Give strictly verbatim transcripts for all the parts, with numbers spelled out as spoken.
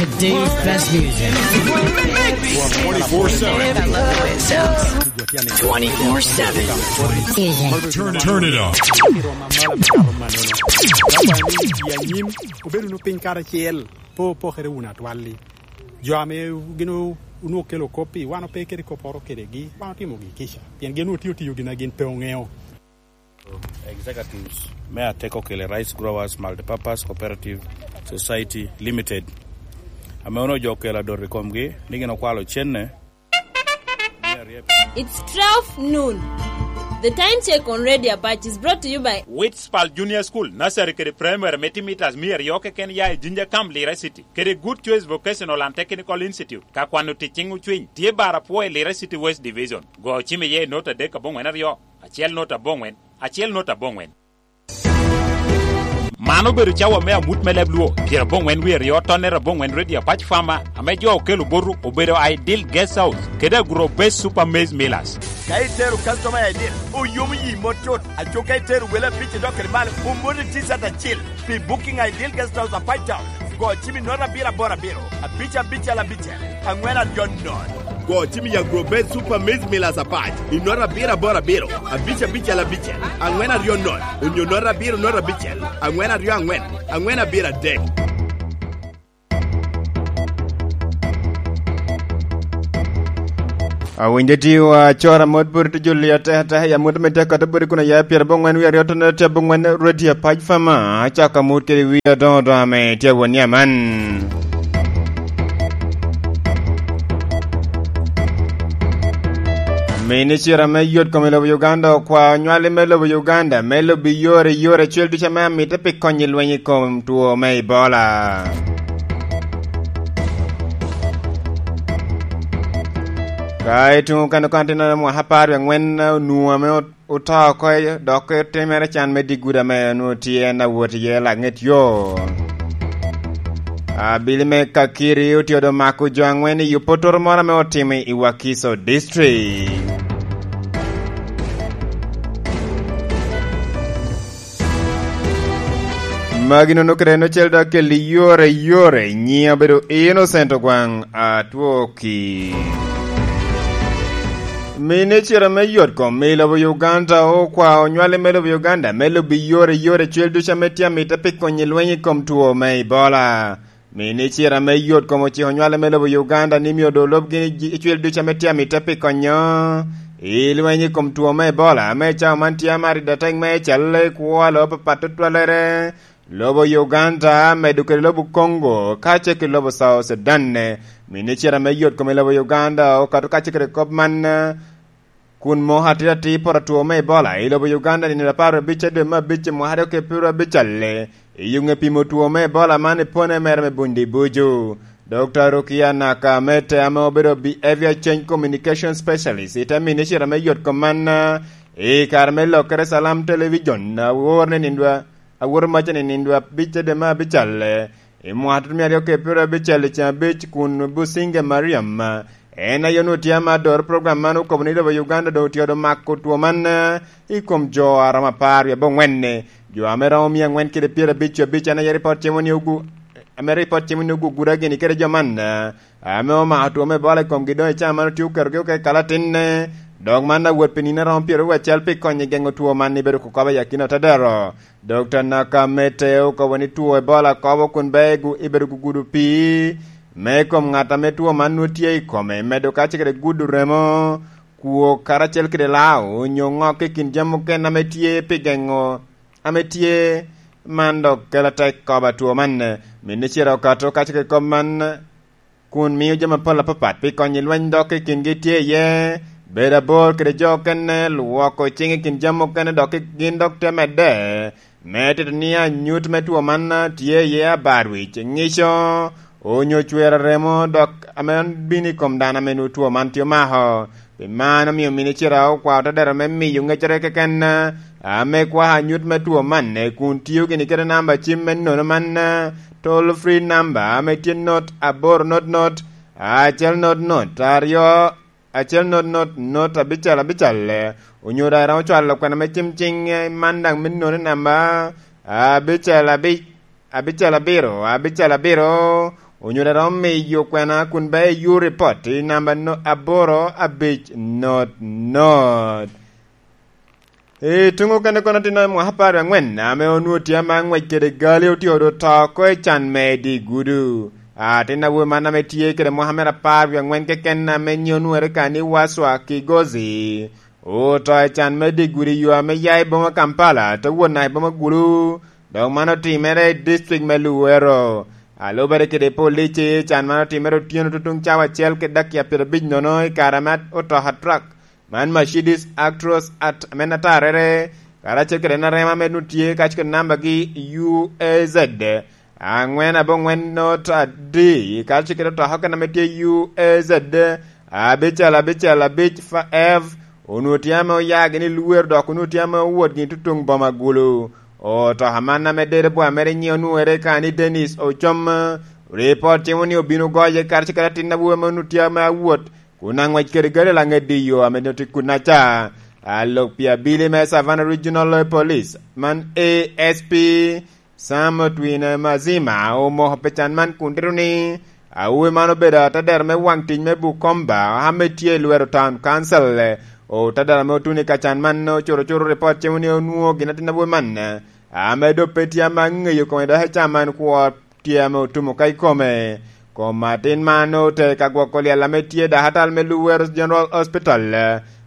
Today's best music. Twenty-four seven. Twenty-four seven. Turn, turn it up. Obedo wunu piny karacel, pe opokere wunu atwal-li. Jo ame gin o-, onwoŋo kelo kop-pi, wan ope kede kopporo kedegi, wan otimogi kica, pien gin otio tiyo gin a gin pe oŋeo. Executives me Ateko Kele Rice Growers Multipurpose Cooperative Society Limited, ame onwoŋo jo okelo adot i komgi, ni gin okwalo cenne. It's twelve noon. The time check on Radio Apache is brought to you by Witspal Junior School, Nursery kede Primary me timo mitas mia aryo keken ya i Jinja Camp, Lira City, kede Good Choice Vocational and Technical Institute. Ka kwano tic ciŋ ocwiny, tye bar apwo i Lira City West Division. Go cim iye i not adek aboŋwen aryo, acel not aboŋwen, acel not aboŋwen. Man obedo cawa me amut me leb Luo, pyerabongwen wie aryo, tonnere abongwen Radio Apac Farmer, ame jo okelo boto obedo Ideal Guest House, kede Agro Base Super Maize Millers. Ka itero customer i Ideal, oyomo yi mot cut. Aco ka itero wele abic idok kede malo, omoni T-shirt acil. Pi booking Ideal Guest House Apac Town, go cim i note abiro aboro abiro, abic abicel abicel, angwen aryo nono. Go cim i Agro Base Super Maize Millers Apac, i note abiro aboro abiro, abic abicel abicel, angwen aryo nono, onyo note abiro note abicel, angwen aryo angwen, angwen abiro adek. Awinyo ti wa cora mot buri ti juli ateka ateka ya mot me teka to buri kuna ya pyerabongwen wie aryo to ne tye abongwen Radio Apac Farmer, acaka mot kede wie adoŋo doŋo ame tye awon ya man. Minicita me yot kom i lobo Uganda okwao nywali me lobo Uganda me lobi yore yore cel ducu ame amite pi konyo i lweny i kom two me Ebola. Ka i tuŋ okene kwan tino mwaka apar wie angwen onwoŋo ame ot-, oto oko, dok otimere can me digudi ame onwoŋo tye en awot iye laŋet yo. Abili me Kakiri otye odo mako jo angwen i opotoro moro ame otimo i Wakiso District. Magi nono kede en ocel dok akelli yore yore, nyiŋa obedo Innocent Ogwaŋ Atwoki. Minicita me yot kom i lobo Uganda okwao nywali me lobo Uganda me lobi yore yore cel ducu ame tye amite pi konyo i lweny i kom two me Ebola. Minicita me yot kom ociko nywale me lobo Uganda ni myero doŋ olub gini ji-, icwil ducu ame tye amite pi konyo i lweny i kom two me Ebola, ame i cawa man tye amaro i dateng me cal i kwo a lobo apapat tutwalere, lobo Uganda, medo kede lobo Congo, kacel ki lobo South Sudan. Minicita me yot kom i lobo Uganda okato kacel kede kop man, kun moko atir atir poto two me Ebola i lobo Uganda nino apar abic a dwe me abic mwaka aryo kede pyeraryo abic alle, i yuŋe pimo two me Ebola man i pone mere me Bundi Buju. Dokta Rukia Nakamete ame obedo Behavior Change Communication Specialist i te minicita me yot kom man, i kare me lokere Salam Television, awor ni nindo a-, awor maca ni nindo abic a dwe me abic alle, i mwaka tutumia aryo kede pyeraryo abicel i ceng abic kun Businge Mariam, en aye onwoŋo tye ame adoro program man, okobo ni lobo Uganda doŋ otye odo mako two man, eh, i kom jo a romo apar wie abongwen-ni. Jo ame romo mia angwen kede pyerabic abic en aye ripot cimo ni ogu-, ame ripot cimo ni oguguda gini kede jo man, eh, ame omako two me Ebola i komgi doŋ i caa man otye oketogi oko i kalatin, eh, dok man awot pi nino aromo pyeraryo acel pi konyo i geŋo two man i bedo kokobe i akina otedero. Dokta Nakamete okobo ni two Ebola kobo kun bea i gu-, i bedo gugudo pii me kom ŋat ame two man nwoŋo tye i kome, medo kacel kede gudo remo, kwo karacel kede lao, onyo ŋok i kin jami mukene ame tye pi geŋo, ame tye man dok kelo atek kobo a two man. Minicita okato kacel kede kop man, kun mio jami apol apapat pi konyo i lweny dok i kingi tye iye, bedo abor kede jo okene, lwoko ciŋ i kin jami okene dok gin dok te medde. Me tito ni anyut me two man tye iye abarwic, ŋico, onyo cwero remo dok ame bino i kom dano ame nwoŋo two man tye omako. Pi man omio minicita okwao te dero me miyo ŋecere keken, ame kwako anyut me two man, kun tio gini kede namba cim me nono man, toll free number ame tye not aboro not not, acel not not, aryo, acel not not, not abicel abicel, onyo daŋ iromo cwalo kwena me cim ciŋ, eh, man daŋ me nono namba abicel abic, abicel abiro, abicel abiro, Onyuto a romo miyo kwena kun be iyur ripot i namba no-, aboro abic not not. I tuŋ okene kono, atino i mwaka apar wie aŋwen ame onwoŋo tye ame aŋwec kede gali, otye odo to oko i can me dye gudo. Atin awobi man ame tye kede mwaka mere apar wie aŋwen keken ame nyiŋe onwoŋere ka ni Waswa Kigozi, oto i can me dye gudo i yo ame ya i boma Kampala, te wot naka i boma Gulu, dok man otimere i district me Luwero. A lubere kede polici, can man otimere otyeno tutuŋ cawa acel kede dakika pyerabic nono i kare ame otoka truck man Mercedes Actros at-, ame atarrere, karacel kede en arema ame nwoŋo tye kacel kede nambagi U A Z aŋwen aboŋwen not adi, karacel kede otoka okene ame tye U A Z abicel abicel abic F, onwoŋo tye ame oya gini i Luwero, dok onwoŋo tye ame owot gini tutuŋ boma Gulu. Otoka man ame dede bwa mere nyiŋe onwoŋere ka ni Dennis Ocom, ripot timo ni obino goye karacel kede atin awobi ame onwoŋo tye ame awot kun aŋwec kede gali laŋet i yo ame nwoŋo tye kunnaca. A lok pi abili me Savannah Regional Police man A S P Sam Otwine Mazima omoko pi can man kun tito ni awobi man obedo atadero me waŋ tic me Bukomba ame tye i Luwero Town Council. Otadero ame otuno i ka can man ocuto cuto ripot cimo ni onwoŋo gin atin awobi man ame doŋ pe tye ame aŋeyo kome dok i can man kwo tye ame otumo ka i kome. Kom atin man ote ka gwoko lyel ame tye dakatal me Luwero General Hospital,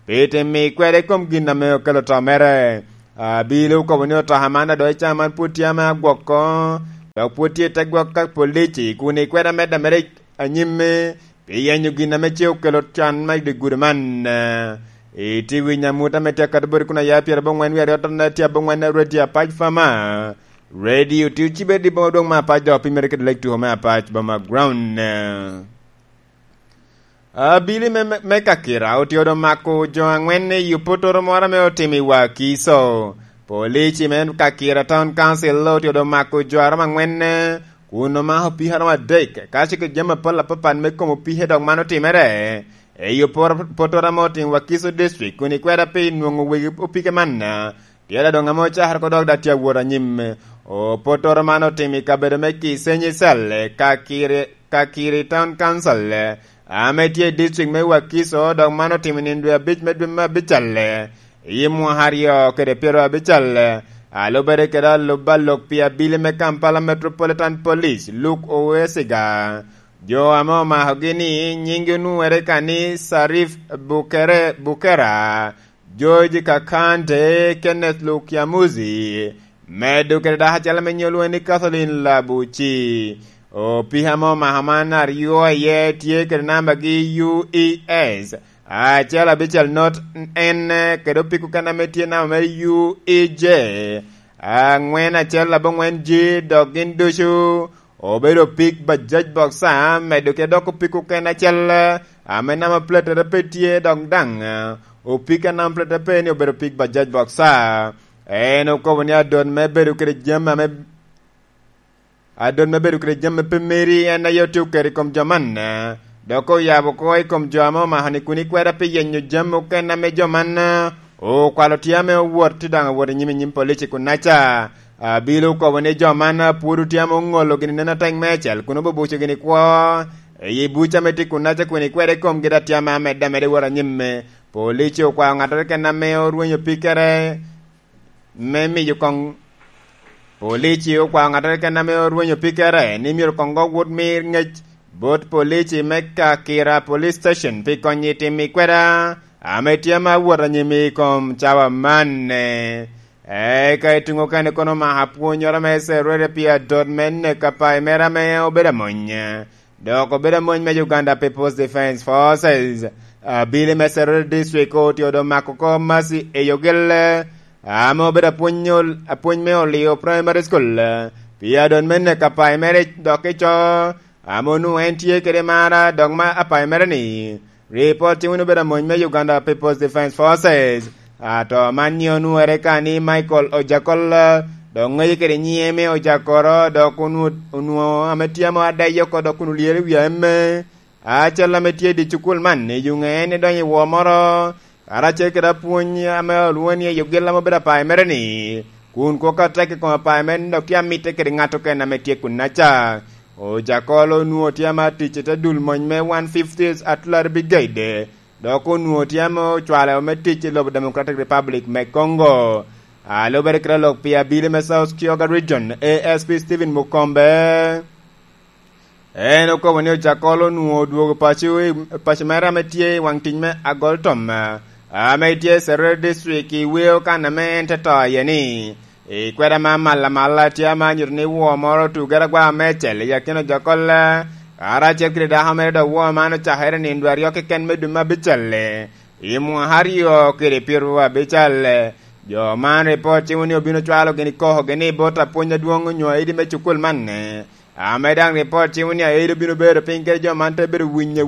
pi tim mi kwede i kom gin ame okelo to mere. Abili okobo ni otoka man adoŋ i can man pwod tye ame agwoko, dok pwod tye i te gwok ka polici kun i kwede amedde mere anyim, pi yenyo gin ame ce okelo can me dye gudo man. Itye winyo amut ame tye akato boti kun aya pyeraboŋwen wie aryo tye aboŋwen radio Apac Fama. Radio tye ocibe i boma dwoŋ me Apac dok opimmere kede lek tuko me Apac boma ground. Abili me, me, me Kakira otye odo mako jo aŋwen i opotoro moro ame otimo i Wakiso. Polici me Kakira Town Council otye odo mako jo aromo aŋwen, kun omako opiko aromo adek, ka cik jami apol apapat me kom opike dok man otimere. I opotoro ame otimo Wakiso District, kun ikweda pi nwoŋo wegi opike man, tye da doŋ ame ocakere oko dok da tye awot anyim. Opotoro man otimo i kabedo me Kisenyi Cell, Kakiri, Kakiri Town Council, ame tye i district me Wakiso, dok man otimo i nino dwe abic me dwe me abical, i mwaka aryo kede pyero abical. A lubere kede alub alok pi abili me Kampala Metropolitan Police, Luke Owesiga, jo ame omakogi ni nyinggi onwoŋere ka ni Sarif Bukere, Bukera, George Kakande, Kenneth Lukyamuzi, medo kede dako acel ame nyiŋe olwoŋe ni Kathleen Labuci. Opika ame omako man aryo iye tye kede nambagi U E S acel abicel not N, kede opiko kene ame tye namba mere U E J aŋwen acel aboŋwen G, dok gin ducu obedo pig Bajaj Boxer, medo kede dok opiko kene acel ame namba platere pe tye, dok daŋ opiko a namba platere pe ni obedo pig Bajaj Boxer. En okobo ni adot me bedo kede jami ame, adot me bedo kede jami pe meri en aye otye oketo i kom jo man, dok oyabo oko i kom jo ame omako ni kun ikweda pi yenyo jami okene ame jo man okwalo tye ame owot, tye daŋ awot i nyim, i nyim polici kunnaca. Abilo okobo ni jo man pwod otye ame oŋolo gini neno atek meicel kun obubuco gini kwo i buc ame tye kunnaca kun ikwede i komgi, dok tye ame amedde ameda i wot anyim. Polici okwao ŋattoro keken ame orwenyo pikere me miyo koŋ, polici okwao ŋattoro keken ame orwenyo pikere ni myero koŋ go wot mir ŋec bot polici me Kakira Police Station pi konyi tim i kweda ame tye ma wot anyim i kom cawa man. Eka i tuŋ okene kono omako apwonyoro me Serere pi adot me neko apai mere ame obedo amony, dok obedo amony me Uganda People's Defence Forces. Abili me Serere District otye odo mako oko Mercy Eyogel, ame obedo apwony ol-, apwony me Olio Primary School, pi adot me neko apai mere dok ico ame onwoŋo en tye kede mara, dok ma apai mere ni, ripot timo ni obedo amony me Uganda People's Defence Forces. Ato man nyiŋe onwoŋere ka ni Michael Ojakol, dok ŋeye kede nyiŋe me Ojakoro, dok onwo-, onwoŋo ame tye ame adayo oko, dok kun olyero i wi emme. Acel ame tye i dye cukul man, i yuŋe en idonyo i wor moro, karacel kede apwony ame olwoŋo ni Eyogel ame obedo apai mere ni, kun kok atek i kom apai mere ni dok tye amitte kede ŋat okene ame tye kunnaca. Ojakol onwoŋo tye ama tic i te dul mony me one fiftieth Artillery Brigade, dok onwoŋo tye ame ocwalo me tic i lobo Democratic Republic me Congo. A lubere kede lok pi abili me South Kyoga Region, A S P Stephen Mukombe, en okobo ni Ojakol onwoŋo odwogo paco i, paco mere ame tye i waŋ tic me Agol Tom, ame tye i Serere District, i weo kan ame en te to iye ni, i kweda ma amalla amalla tye ame anyuto ni woo moro otugere agwa mecel i akina Ojakol, karacel kede dako mere, dok woo man ocakere nino dwe aryo keken me dwe me abicel, i mwaka aryo kede pyeraryo abicel. Jo man ripot timo ni obino cwalo gini koko gini bot apwony adwoŋ onyo aidi me cukul man, ame daŋ ripot timo ni aidi obino bedo piny kede jo man te bedo winyo